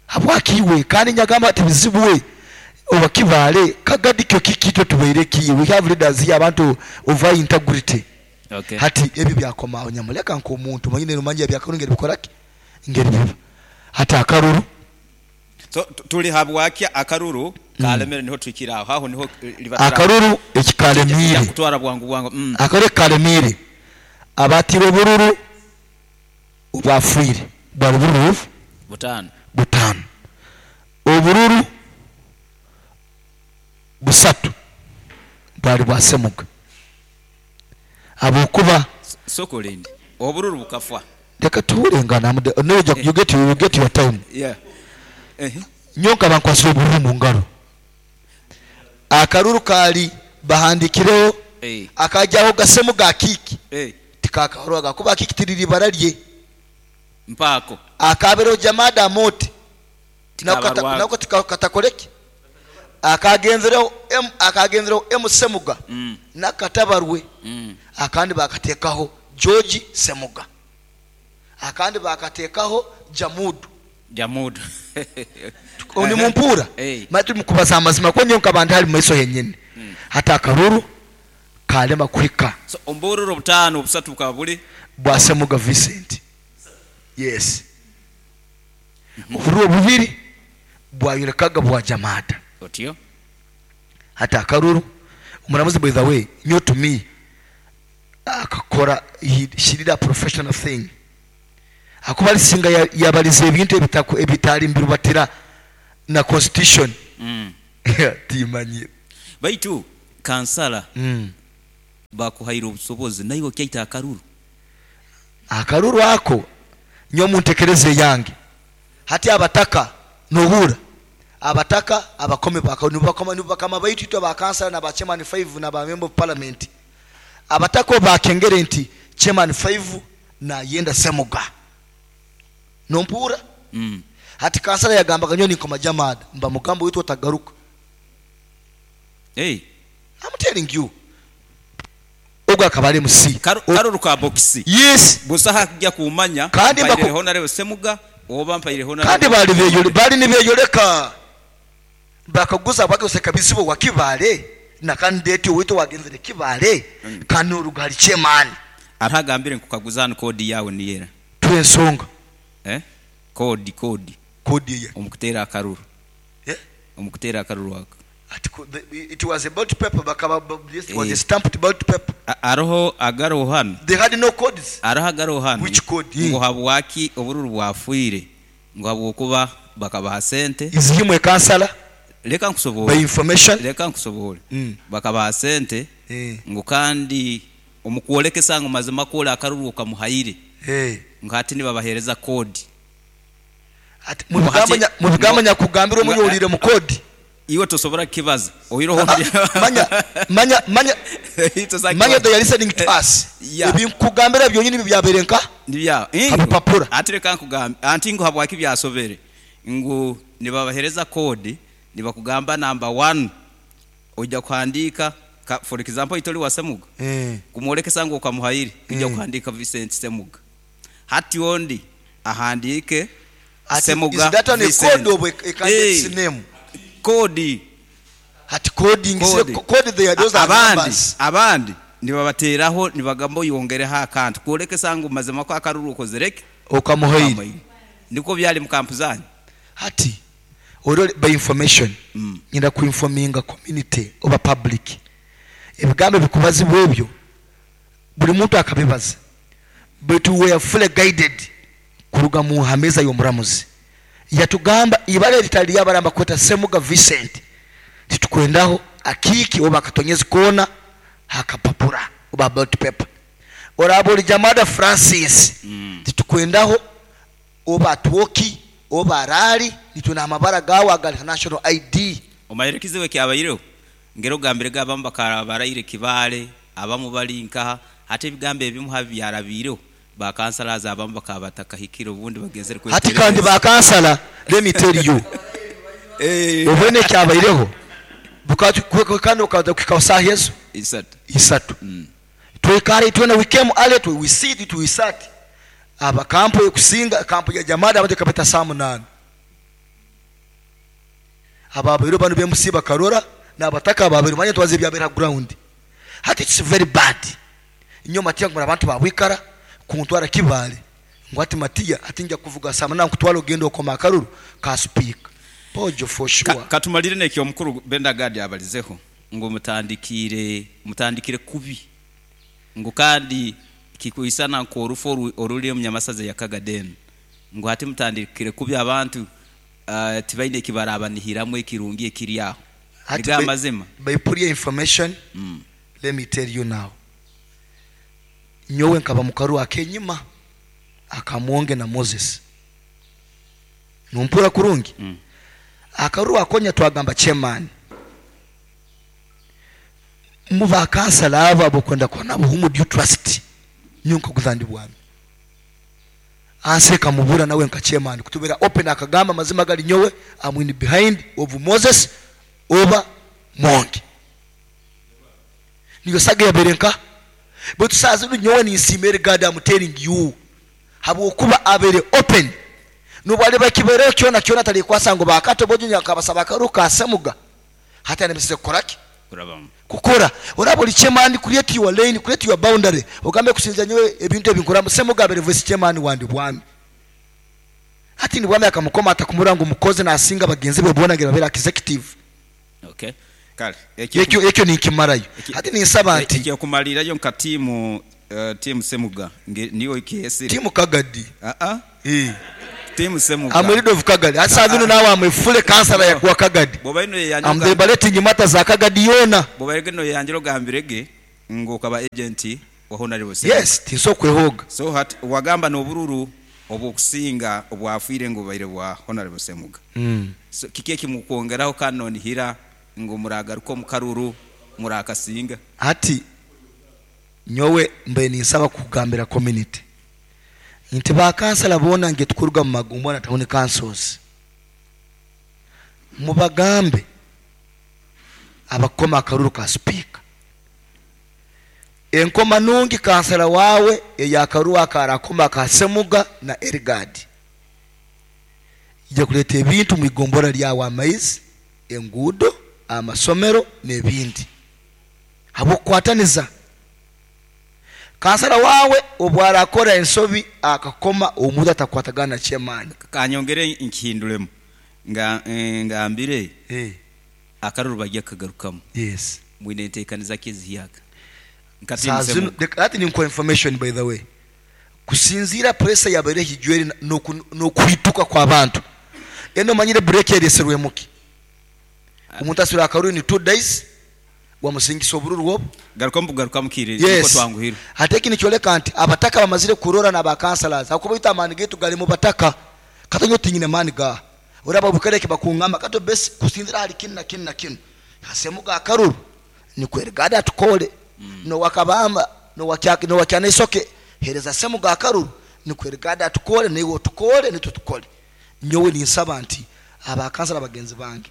Habwakiwe kandi nyagamba ati bizibuwe obakibale kagadi kyo kikito tubereki. We have leaders here abantu of high integrity. Okay. Hati ebi byakoma onyamuleka nko omuntu manyine rumanje byakaruru ngeri bikoraki ngeri biba hati akaruru. So tuli habwaki akaruru kalemere niho twikira aho niho libatara akaruru ekikalemire kutwara bwangu bwangu. Akaruru kalemire abatiro bururu ubafwire bwa bururu butano butano obururu busatu bwali bwasemuga abokuba sokolindi obururu bukafwa reka tuwulengana no, you get your time. Yeah. Nyonka bankwasira obururu mu ngaro akaruru kali bahandikireho akajyaho gasemuga kiki tikakahorwaga kuba kiki tiriri bararye mpako akabero Jamada moti nako katakoleki akagenzereho akagenzereho M Semuga nakatabarwe akandi bakatekaho George Semuga akandi bakatekaho Jamudu oni mumpura matu mukubaza amazima ko nyonka bandi hari maiso yenyene hata akaruru kalema kuhika. So ombururu butano busatu bukabuli bwa Semuga Vincent. Yes. Obururu obubiri bwayolekaga bwa Jamada. Otyo. Hati akaruru omuramuzi, by the way, nyo to me akakora, she did a professional thing, akuba alisinga yabaliza ebintu ebitali mbirubatira na constitution. Timanyire. Baitu kansala bakuhaire obusobozi naiwe okyaita akaruru. Akaruru ako nyo muntekereze yange hati abataka nohura abataka abakome bakama baitu itwe abakansala na ba chairman 5 na ba member of parliament, abataka bakengere nti chairman 5 na yenda Semuga nompura. Hati kansala yagambaga nyo nikoma Jamada mba mugambo witu otagaruka. Hey. I'm telling you, ogwo akaba ari MC. Karuru ka box. Yes. Busaha kujya kumanya kandi mpaire honare Semuga oba mpaire honare. Kandi bali nibeyoleka bakaguza bagoseka bizibo wakibale na candidate wito wagenzere kibale. Kandi urugali chairman aragambire nkukaguzana kodi yawe niyera twensonga kodi kodi ye omukutera akaruru. Omukutera akaruru wako. It was a ballot paper, bakaba this was a stamped ballot paper. Aroho agaro hano. They had no codes. Aroho agaro hano. Which code? Ngo habwaki obururu bwafuire ngo habwokuba bakabaha sente. Is him a councillor? Leka nkusobole. By information. Leka nkusobole. Bakabaha sente. Ngo kandi omukwolekesa ngo mazima kola akaruru okamuhaire. Ngo hati nibabahereza code. Ati mu bigamba nyakugambira omunyolire mu code. Iwe tosobora kibaza oyiroho manya manya manya manya they are listening to us. Ebinkugambira byonyini byaberenka nibya habupapura. Atireka nkugamba anti ngo habwaki byasobere ngo nibabahereza code nibakugamba number 1 ojja kuhandika for example itoli wa Semuga kumwolekesa ngo ukamuhairi ujja kuhandika Vincent Semuga hati ondi ahandike Semuga. Is that on a code of a candidate's name? Kodi hati coding code they are those are numbers. Abandi nibabateraho nibagamba yongereho akantu kwolekesa ngu mazima ko akaruru ukozereke okamuhaire niko byali mu kampu zanyu. Hati oro by information nyenda ku informinga community oba public ebigambo bikubazibwa ebyo buli muntu akabibaza, but we are fully guided kuruga mu hameza y'omuramuzi yatugamba ibale litali yabaramba kweta Semuga Vincent titukwendaho akiki oba akatonyezi kona hakapapura oba ballot paper orabo Jamada Francis titukwendaho oba twoki oba rali nituna amabara gawa aga national ID. Omayerekiziwe kyabayireho ngero gambire gabamba karabaraire kibale abamu bali nkaha hati ebigambo ebimu habyarabireho ba kansala abamu bakabatakahikira ubundi bagenzere kwe hati kandi ba kansala let me tell you obone kyabayireho bukati kandi ukaza kukausa Yesu isatu twekare twena we came early to we see it we sat aba kampo yokusinga kampo ya Jamada abandi kapeta saa 8 aba bero banu bemusiba karora nabataka babero manya twaze byabera ground. Hati it's very bad inyo Matiya ngura abantu babwikara kuntwara kibale ngo ati Matiya ati njya kuvuga saa 8 kutwala ogendo okoma akaruru ka speak pojo for sure. Katumalire nekyo mukuru Benda Gadi abalizeho ngo mutandikire kubi ngo kandi kikuisana ko orufu oruli omunyamasaza yakagadeni ngo hati mutandikire kubi abantu tibaine kibarabanihiramu ekirungi ekiri aho. Niga mazima by pure information. Let me tell you now, nyowe nkaba mukaru akenyima akamwonge na Moses numpura kurungi. Akaru akonya twagamba chairman muba kansala abo abokwenda kona buhumu due trust nyonko kuzandi bwami anseka mubura nawe nka chairman kutubera open akagamba mazima gali nyowe I'm in behind of Moses oba Mongi niyo saga yaberenka but sazi nyowe ni simere God I'm telling you habwokuba abere open nubale bakibere kyona kyona tali kwasa ngo bakato bojunya akabasaba karuka Semuga hata nemesize kukoraki kukora orabo li chairman create your lane, create your boundary ogambe kusinza nyowe ebintu ebinkora Semuga abere voice chairman wandi bwami Hati nibwami akamukoma atakumura ngu mukozi nasinga bagenzi be bona ngira babere executive. Okay, kale. Ekyo ekyo ninkimarayo. Hati ninsaba nti Ekyokumalirayo nka tiimu tiimu Semuga niyo ekyesire. Tiimu Kagadi. Aa. Eh. Tiimu Semuga. I'm a leader of Kagadi. Hati saa zino nawe I'm a full councillor wa Kagadi. Bwoba ino yeyanjira I'm deliberating matters za Kagadi yoona. Bwoba ino yeyanjira ogambirege ngu okaba agent wa Honorable Semuga. Yes, tinsobola kwehooga. So hati wagamba n'obururu obw'okusinga obwafiire ngu bubaire bwa Honorable Semuga. So kiki ekimukwongeraho kandi nonihira ngu muragaruka omu karuru murakasinga? Hati nyowe mbaire ninsaba kugambira community nti ba kansala boona nge tukuruga mu magombolola na town councils, mubagambe abakukoma akaruru ka sipiika. Enkoma nungi kansala wawe eyakaruru akarakoma ka Semuga na Erigadi ija kuleta ebintu mu igombolola lyawe, amaizi, enguudo, amasomero n'ebindi, habw'okukwataniza. Kansala wawe obwarakora ensobi akakoma omuntu atakwatagana na chairman. Kanyongere nkihinduremu nga ngambire akaruru bajja kukagarukamu. Yes. Mwine enteekaniza ki ezihyaka? Nka tiimu Saa zinu, Semuga. leka hati ninkuha information by the way. Kusinziira pressure yabaire hijwere n'okuhituka kw'abantu. Eno omanyire break ereserwemu ki? Omuntu asubira akaruru ni 2 days wamusingisa obururu obu. Garukamu bugarukamu kire niko Yes. twanguhirwe. Hati eki nikyoleka nti abataka bamazire kurora n'aba councillors. Hakuba baitu amaani gaitu gali mu bataka. Katonyo tinyine maani gaha. Oraba bukereke bakungamba kato besi kusinzira hali kinu na kinu na kinu. Hasemuga akaruru ni kwerigada atukole. No wakabamba no wakyaki no wakyana isoke hereza Semuga akaruru ni kwerigada atukole niwe otukole nitwe tukole. Nyowe ninsaba nti aba councillor bagenzi bange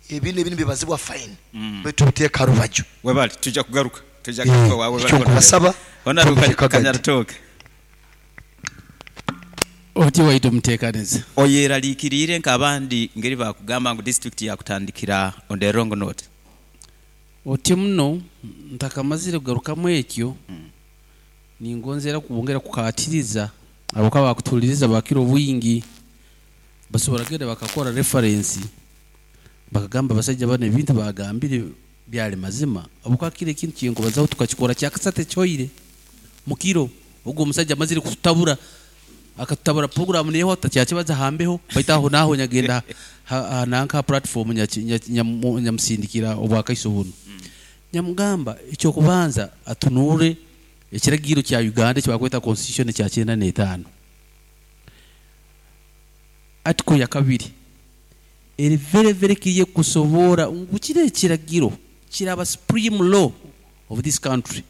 ebi n'ebi nibibazibwa fine. Baitu biteeka rubaju. Webale tujja kugaruka. Tujja kugaruka wawe. Ekyo nkubasaba, Honorable tubiteeka gadi. Kanyaritoke. Oti waitu muteekaniza. Oyeraliikiriire nk'abandi ngeri bakugamba ngu district yakutandikira on the wrong note. Oti muno ntakamazire kugarukamu ekyo, ningonzera kubongera kukatiriza abo ka bakutuliriza bakiro bwingi basobora genda bakakora reference bakagamba abasajja bano ebintu bagambire byali mazima, abo kakire ekintu kyenkubazaho tukakikora kyakasate kyoire mukiro ogwo omusajja amazire kututabura akatutabura program neho atakyakibaza hambeho baita aho naho nyagenda nanka platform nyamusindikira obwakaiso buno. Nyamugamba ekyokubanza atunure ekiragiro kya Uganda kyebakweta constitution kya 95 article ya 2 eri very very clear kusobora ngu kiri ekiragiro kiraba supreme law of this country.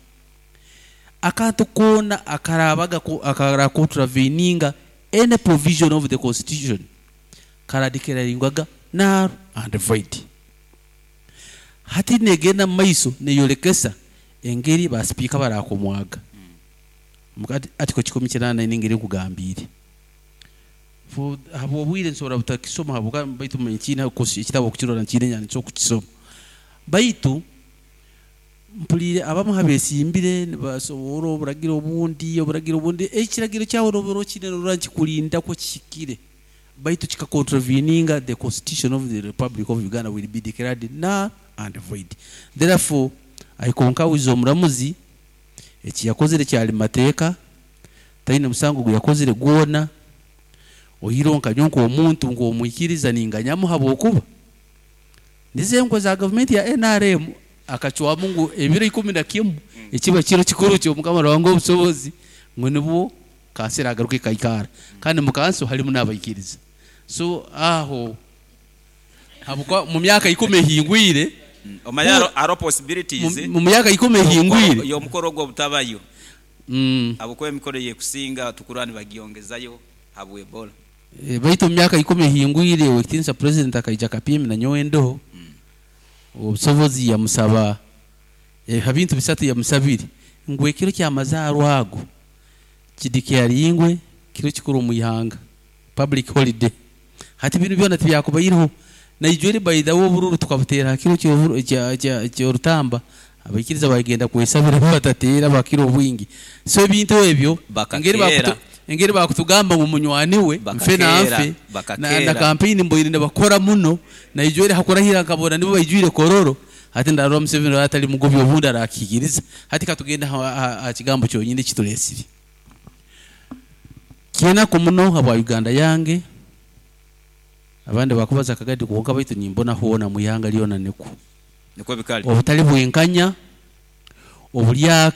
Akantu kona akarabaga akara contraveninga any provision of the constitution karadikiraringwaga null and void. Hati negenda maiso neyolekesa engeri ba speaker barakomwaga mukati article kikumi kinana n'engeri nkugambire for habo obwire nsobora butakisoma habo baitu nkina ekitabo okukirora nkine nyani cyo kukisoma baitu mpulire abamu habesimbire nibasobora oburagira obundi oburagira obundi ekiragiro kyawe roboro kine rora nkikulinda ko kikire baitu kika contraveninga the constitution of the Republic of Uganda will be declared null and void. Therefore aikonka wizo omuramuzi eki yakozere kyali mateeka taine musango gwe yakozere gwona oyironka nyonko omuntu ng'omwikiriza ninganyamu habwokuba nize za government ya NRM akachwamu ngu ebiro 11 ekiba kiro kikuru kyo mukama wangu obusobozi ngu nibwo kansera agaruke kaikara kandi mu kanso halimu n'abaikiriza. So aho habukwa mu myaka 10 ehingwire omanya aro possibilities mu myaka 10 ehingwire yo mukoro gwo butabayo abukwe emikoro yekusinga tukurani bagiongezayo habwe Ebola. Baitu mu myaka 10 ehingwire wekitinsa president akaija kapimi na nyowe ndoho obusobozi yamusaba habintu bisatu yamusabire ngu ekiro ky'amazaarwa ago kidikyaringwe kiro kikuru mu ihanga public holiday. Hati binu byona tibyakubairiho naijwere by the way obururu tukabutera kiro ky'orutamba abaikiriza bagenda kwesabira batatera bakiro obwingi. So ebintu ebyo ngeri Engeri bakutugamba ngu munywani we nfe na Bakakeera, nfe na, bakakeera. Na kampeyini mboire nibakora muno, naijwire hakurahira nkabona nibo baijwire Kololo. Hati ndarora Museveni atali mugobi, obundi arakikiriza. Hati katugenda ha kigambo kyonyini kitulesire kyenaku muno habwa Uganda yange. Abandi bakubaza Kagadi kwonka, baitu nimbona hoona mwihanga lyona nikwo Nikwo bikali. Obutali bwenkanya, obulyake.